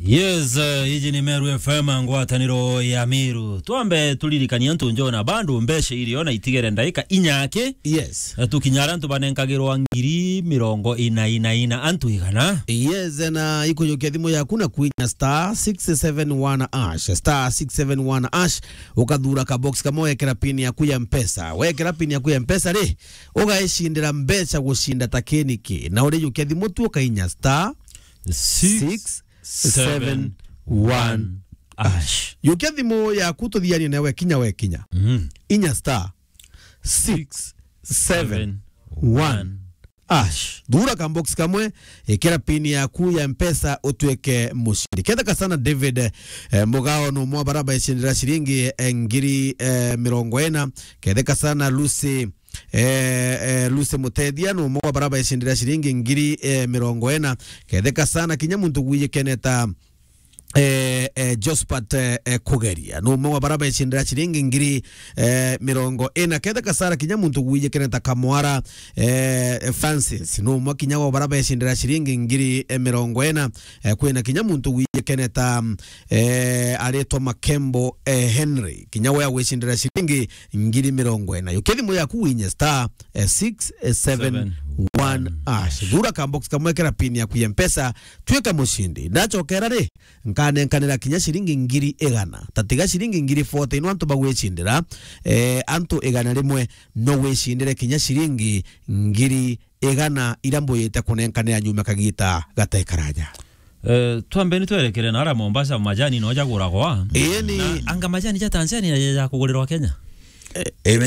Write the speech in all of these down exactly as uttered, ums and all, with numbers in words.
Yes, eh, iji ni Meru F M, ngwataniro ya Meru. Twambe turirikanie antu njona, bado mbeca irio na itigere ndaika inya aki. Yes. Eh, tukinya aria antu banenkagirwa ngiri mirongo ina ina ina, antu igana. Yes, na ikujukia thimu yaku na kwinya star six seven one hash, star six seven one hash, ukathura ka box kamwe, wekera pin yaku ya Mpesa. Wekera pin yaku ya Mpesa ri, ugaicindira mbeca gucinda ta kiniki. Na urijukia thimu tu ukainya star six seven one hash. Yukia thimu yaku tuthianie nawe kinya we kinya. Mhm. Inya star six seven one hash. Thura ka box kamwe, ikira pin yaku ya Mpesa utuike mucindi. Ketheka sana David, eh, Mugao ni umwe wa bara baicindira ciringi, eh, ngiri, eh, mirongo ina. Ketheka sana Lucy, eh, eh, Lucy Mutethia ni umwe wa bara baicindira ciringi ngiri, eh, mirongo ina. Ketheka sana kinya muntu gwijikene ta eh, eh, Jospat, eh, eh, Kugeria. Ni umwe wa bara becindira ciringi ngiri, eh, mirongo ina. Ketheka sana kinya muntu gwijikene ta Kamwara, eh, Francis. Ni umwe kinya wa bara becindira ciringi ngiri, eh, mirongo ina. Eh, kwina kinya muntu gwijikene ta, eh, aritwa Makembo, eh, Henry. Kinya we agwicindira ciringi ngiri mirongo ina. Yukia thimu yaku winye star, eh, six seven one hash. Thura ka box kamwe, kira pin yaku ya Mpesa, twika mucindi. Ndacokera ri, nkanenkanira kinya ciringi ngiri igana. Ta tiga ciringi ngiri forty, ino antu bagwicindira, eh, antu igana rimwe no wicindire kinya ciringi ngiri igana ira mbuyite kunenkanira nyuma kagita gate karaja. Eh, twambe ni twerekere na ara Mombasa, majani no jaguragwa. Ii ni na anga majani ja Tanzania ja, ja kugurirwa Kenya? Eh, eh,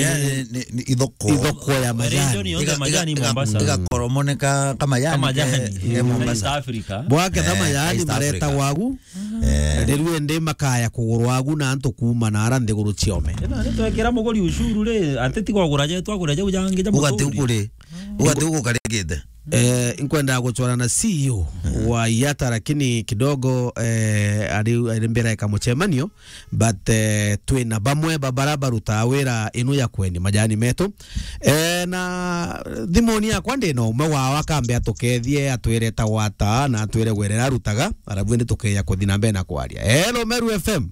ni, ni, ni ithoko. Ithoko ya majani. Region yonthe iga-, majani iga-, Mombasa. Igakoromoneka ka majani, ka majani ke, ke Mombasa. East Africa. Bwake ta, eh, majani East Africa. Mareta wagu. Eh. Riu indi makaya kugurwa agu na antu kuuma na ara nthiguru ciome. Ina ni twekira muguri ushuru ri, ati ti kugura je, twagura je ujangi ja muturi. Ugati ukuri. Ugati ugukarigite. Eh, nkwenda gucwara na C E O wa Yata, lakini kidogo, eh, ari, ari mbira eka mucemanio, but, eh, twina bamwe ba bara barutaa wira inu ya kweni majani metu. Eh, na thimuni yakwa ndina umwe wao akambe atukethie, atwire ta gwata na atwire gwerera arutaga, arabu indi tukeya kuthi na mbere na kwaria. Hello, Meru F M.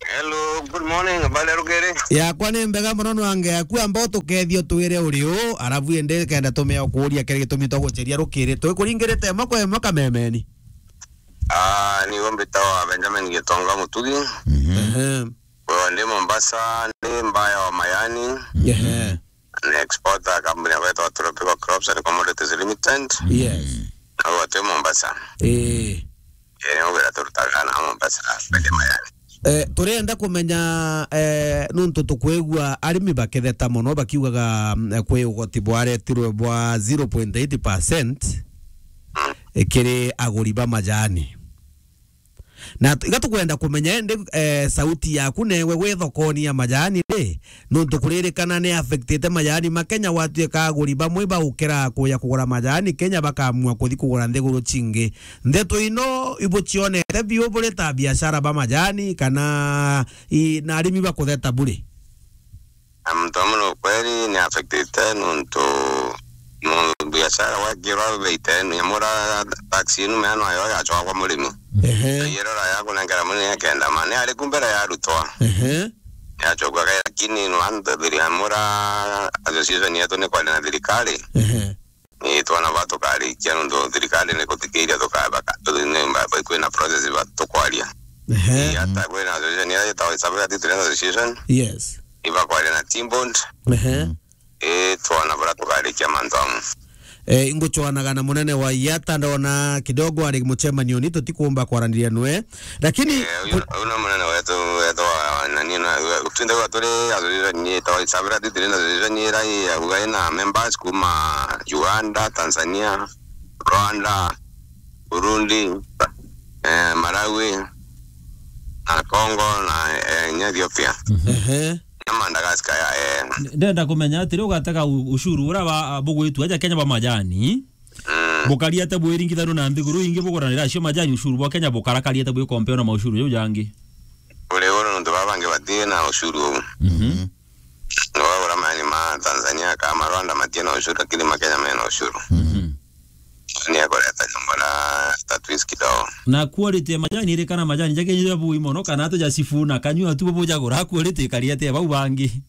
Hello, good morning. Habari ya rukiri? Yakwa ni mbega muno, nwange yaku amba utukethie utwire uri u, arabu indi kenda tumea ukuria kiri gitumi twa guceria rukiri. Twikuringirite imwe kwa imwe kamemeni. Ah, ni we mbitawa Benjamin Gitonga Mutugi. Mhm. Ehe. Wewe ndi Mombasa, ndi mbaya wa mayani. Ehe. Ni exporter, kampuni ya gwetwa Tropical Crops and Commodities Limited. Yes. Na wewe tu Mombasa. Eh. Eh, ni wira turutaga na Mombasa, kwende mayani. Eh, turenda kumenya, eh, nuntu tukwigua arimi bakitheta mono bakiugaga, mm, kwi ugoti bwaretirwe bwa zero point eight percent, mm, eh, kiri aguri ba majani. Na tu-, iga tukwenda kumenya indi, eh, sauti yaku newe wi thokoni ya majani ri, nuntu kuririkana ni affectite majani ma Kenya, gwatuika aguri bamwe baukira kuya kugura majani Kenya, bakaamua kuthi kugura nthiguru cingi. Ndeto ino ibucionete biu buri ta biashara ba majani kana i-, na arimi bakutheta buri? Na muntu amwe ni ukweri ni affectite nuntu, nuntu biashara gwakirwa beite ni amura tax inu mea no yo yacwagwa murimi. Ehe. Na yero ra ya kunengera murimi ya kenda ma ni ari ku mbere ya rutwa. Ehe. Yacokua kai, lakini no antu thiri amura association yetu ni kwari na thirikari. Ehe. Ni twana ba tukarikia nuntu thirikari ni kuthikiria tukabaka. Ni mba-, kwina process ba tukwaria. Ehe. Ni hata kwina association ya yetawa Isabela Tea Traders Association. Yes. Ibakwaria na Timbond. Ehe. Mm. Ii, twona buria tukarikia mantu amwe. Eh, ingucwanaga na munene wa Yata, ndona kidogo ari mucemanioni, tutikumba kwaraniria nwe. Lakini eh, uyu, ku- uyu ni munene wetu, wetu wa, wa, nani, na, twinthe gwa turi association ni itawa Isabela Tea Traders Association, ira i, auga ina members kuma Uganda, Tanzania, Rwanda, Burundi, eh, Malawi, na Congo, na, eh, nya Ethiopia. Mhm. Ehe. Na Madagascar ya, eh. Ndenda kumenya atiri, ugatega u-, ushuru uria ba, bugwitua aja Kenya ba majani, mm, bukariate bwiringithanu na nthiguru ingi buguranira acio majani, ushuru bwa Kenya bukarakariate bwi compare na maushuru jau jangi? Uri uru nuntu baba bangi batii na ushuru uu. Mhm. Ni wagura mani ma Tanzania kana ma Rwanda matii na ushuru, lakini ma Kenya mena ushuru. Mhm. Ni akureta nyombo na ta twisi kidogo. Na quality ya majani iri kana majani jake ja bui mono kana atu ja sifuna kanyua tu bo jagura quality kari atia bau bangi?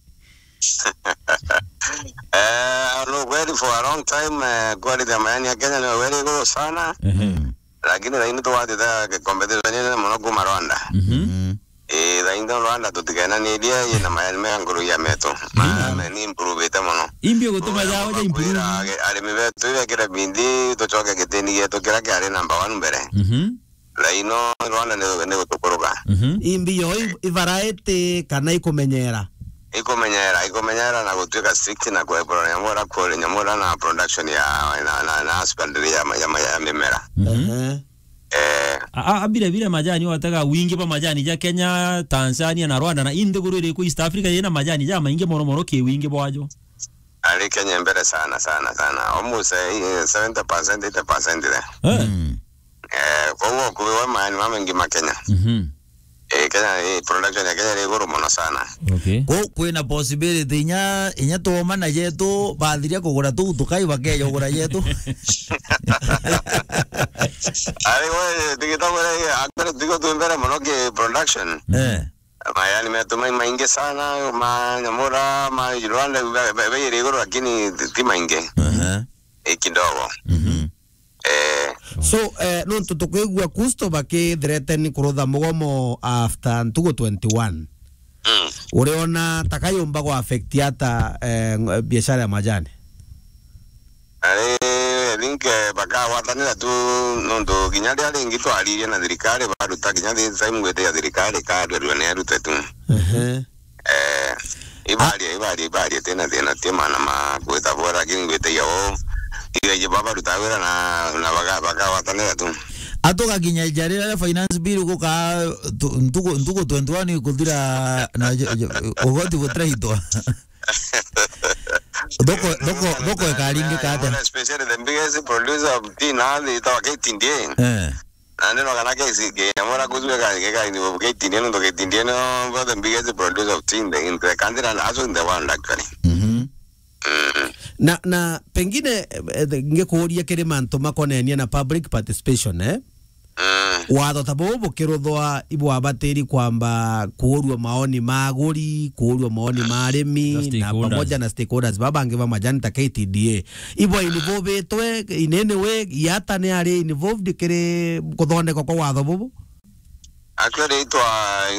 Eh, no, kweli for a long time, eh, quality ya majani ya Kenya ni kweli iguru sana. Ehe. Lakini thaini tuwatite competition nene mono kuma Rwanda. Mhm. Eh, thaini Rwanda tutikenanirie, ina majani mega nguru ya metu. Ma-, ni improvite mono. Imbi gutuma jao ja improve. Kwira age-, arimi betu ibekire bindi, tucoke gitini gietu kiria kiari number one mbere. Mhm. Thaino Rwanda ni, ni gutukuruka. Mhm. Imbi yo i, i variety kana ikumenyera? Ikumenyera, ikumenyera na gutuika strict na kwepura nyamura kuri nyamura na production ya, na, na, na husbandry ya, ya, ya mimera. Mhm. Ehe. Eh. A, a, a, bire, bire majani watega wingi bwa majani ja Kenya, Tanzania na Rwanda na i nthiguru iriku East Africa yina majani ja maingi mono mono ki wingi bwajo? Ari Kenya mbere sana, sana, sana. Almost, eh, seventy percent, eighty percent there. Eh. Mm. Eh, koguo kubiwa majani mamaingi ma Kenya. Mhm. Eh, Kenya, eh, production ya Kenya iri iguru mono sana. Okay. Ko kwina possibility inya, inya tuoma na jetu bathiria kugura tu tukai bakeja kugura jetu. Ari we, tigita kure, actually, tigo twi mbere mono ki production. Eh. Majani metu mai maingi sana, ma nyamura, ma Rwanda, be, be, be iri iguru, lakini ti, ti maingi. Aha. I kidogo. Mhm. Eh. So, eh, nontu tukwigua Kusto bakithreaten kurutha mugomo after ntugu twenty-one. Mm. Uriona ta kayumba gwa affect ata, eh, ng-, biashara ya majani? Ari, I think, eh, bakagwatanira tu nontu kinya ria ringi twaririe na thirikari baruta kinya this time ngwite ya thirikari karuerua ni arute tu. Ehe. Eh, ibaria, ibaria, ibaria, tina thina, ti maana ma gwita bwega, lakini ngwitagia uu, ibaiji baba ruta wira na, na baka-, bakagwatanira tu. Atugakinya ija riria finance bill guka tu-, ntugu, ntugu twenty-one ikuthira na j-, j-, ugoti gutiraitwa. Thoko, thoko, thoko ikaringika atia? Especially the biggest producer of tea na thii itawa K T D A. Eh. Na ndino kana K C K, nyamura kuthue ka, ke ka, ke T D A, nontu K T D A no the biggest producer of tea in the, in the country and also in the world, actually. Mhm. Mm. Na, na pengine, eh, eh, ngikuuria kiri mantu makonenie na public participation, eh? Mm. Watho ta bubu bukiruthwa ibwabatiri kwamba kuurua maoni ma aguri, kuurua maoni ma arimi, na pamoja na stakeholders baba bangi ba majani ta K T D A. Ibwa involvitwe in any way, Yata ni ari involved kiri kuthondekwa kwa watho bubu? Actually, itwa,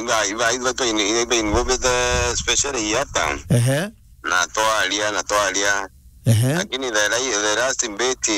iba, iba, iba, itwa in-, iba involved, eh, especially Yata. Ehe. Na twaria, na twaria. Ehe. Lakini the la-, the last bit,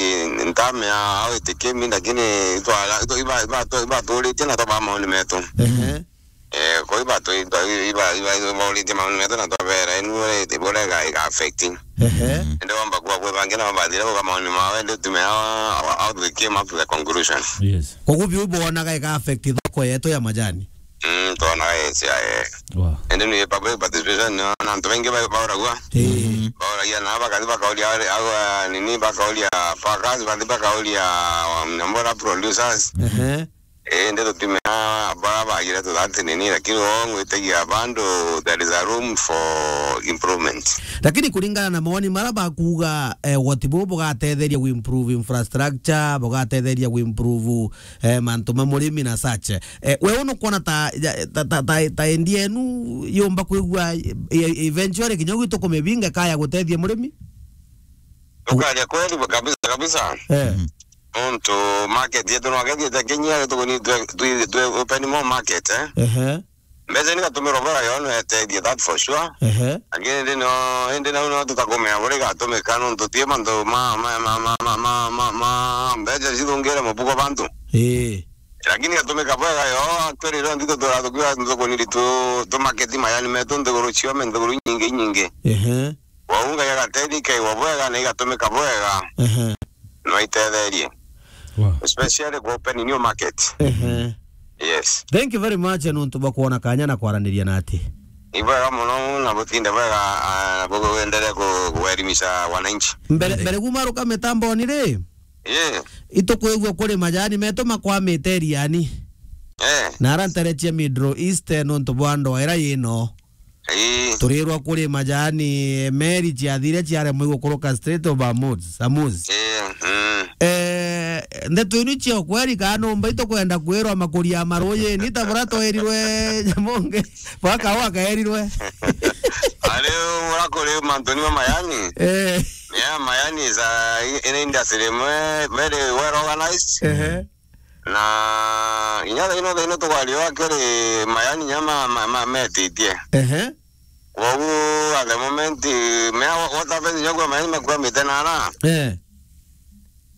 ntamea how it came in, lakini itwa, itwa, iba, iba, iba, iba turitie na twaba maoni metu. Ehe. Eh, kwa iba tu, iba, iba, iba, iba, iba uritie maoni metu na twabera, enu uri, burega iga affect. Ehe. Ende wamba kuwa kwi bangi na bathire kuga maoni mawe, ndio tume how, how they came up to the conclusion. Yes. Koguo biu bonaga iga affect thoko yetu ya majani? Mm, twonaga yes, ya, eh. Wow. Ende ni public participation, no, na antu baingi ba-, bauragua. Eh. Bauragia na bakathi bakauria ari, au, ah, nini, bakauria packers, bathi bakauria, um, nyamura producers. Ehe. Eh, ndio tutimea bara bagire tu that nini, lakini wao ngwitagia bado there is a room for improvement. Lakini kuringana na mawoni mara bakuga, eh, ugoti bubu bugatetheria ku improve infrastructure, bugatetheria ku improve, eh, mantu ma murimi na such. Eh, we uno kuona ta, ta, ta, ta, ta endi enu yumba kwigua, eh, eventually kinya gwitu kumibinga kaya gutethia murimi? Ukaria kweli kabisa kabisa. Eh. Nontu market yetu no akethite kinyia tukuni twe, twe, twe open more market, eh? Ehe. Mbeca ni gatumiro bwega yo no etethie, that for sure. Ehe. Lakini ndi no, indi nau no tutakumenya buri gatumika nontu ti mantu ma, ma, mbeca cithungire mubuko bantu. Ii. Lakini gatumika bwega yo, actually, ro nthito tura tukiwa tukuni tu, tu market majani metu nthiguru ciome, nthiguru nyingi nyingi. Ehe. Wau Ngai agateithia ikaigwa bwega na igatumika bwega. Ehe. No itetherie. Wow. Especially ku open new market. Ehe. Yes. Thank you very much, nontu bwa kuona kanya na kwaraniria nati. Ni bwega muno na butinde bwega, ah, na buendelee ku-, kuelimisha wananchi. Mbere, mbere kuma ruka mitamboni ri? Yeah. Itukwigua kuri majani metu makwamite iriani. Eh. Na ara ntere cia Middle East, nontu bwa ndoa ira yino. Ii. Turirwa kuri majani, meri ciathire ciaremwa igukuruka Strait of Hormuz, Hormuz. Ii, mm. Eh, ndeto inu cio kweri, kana numba itukwenda kwirwa makuria ya marujini, ta bura twerirwe Nyamonge, bwa Kaua kerirwe. Ari ura kuri mantuni ma mayani. Eh. Yeah, mayani is a, in industry imwe very well organized. Ehe. Na inya thaino, thaino tukwaria akiri mayani inya ma, ma, ma, metitie. Ehe. Kwogu at the moment, mea wa-, what happens inya kwa mayani makwamite nara? Eh.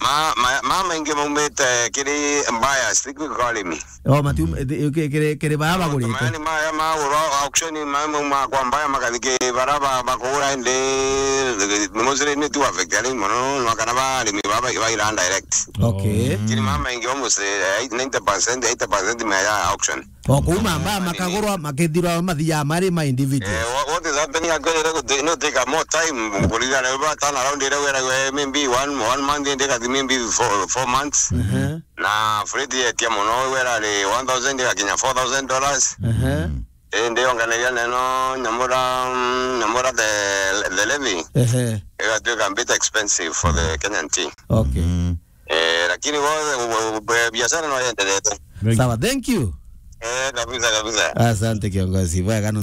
Ma, ma, ma maingi maumite kiri buyers, ti kwi kwa arimi. Oh, matium-, eh, ki-, kiri, kiri baa bagurite. Mayani maya magurwa auction, ma, ma, ma kwa buyer makathi ki bara ba, bakugura indi, mostly ni tu affect arimi mono, no kana ba arimi ba, ba, ba ira direct. Okay. Lakini mama ingi almost, eh, ninety percent, eighty percent mea ya auction. O kuuma mbaa makagurwa, makithirwa mathiaga mari ma individual. Eh, wha-, what is happening actually, ira guti-, no take a more time, kuringana na ba turn around ira wira we maybe one, one month, indi kathi maybe four, four months. Mhm. Na freight yetia mono, wira ri one thousand igakinya four thousand dollars. Mhm. Indi onganagia neno nyamura, mm, nyamura the, the levy. Ehe. Igatuika a bit expensive for the Kenyan tea. Okay. Mm. Eh, lakini wothe, u-, u-, u-, biashara no yenderete. Sawa, thank you. Eh, kabisa, kabisa. Asante kiongozi. Bwega nu.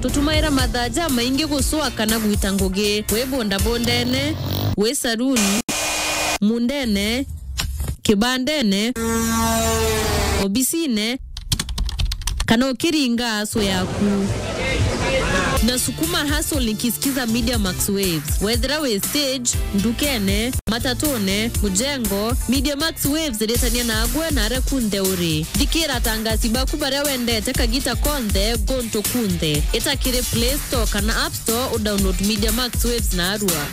Tutumaira mathaa jamaingi gucwa kana gwita ngugi. Wi bondabondene, wi saruni, mundene, kibandene, obisine, kana ukiringa aso yaku. Na sukuma hustle nikisikiza Media Max Waves. Wethira wi stage, ndukene, matatune, mujengo, Media Max Waves iritania nagwe na aria kunthe uri. Thikira atangasi baku baria wendete kagita konthe, guntu kunthe. Ita kiri Play Store kana App Store, udownload Media Max Waves narua.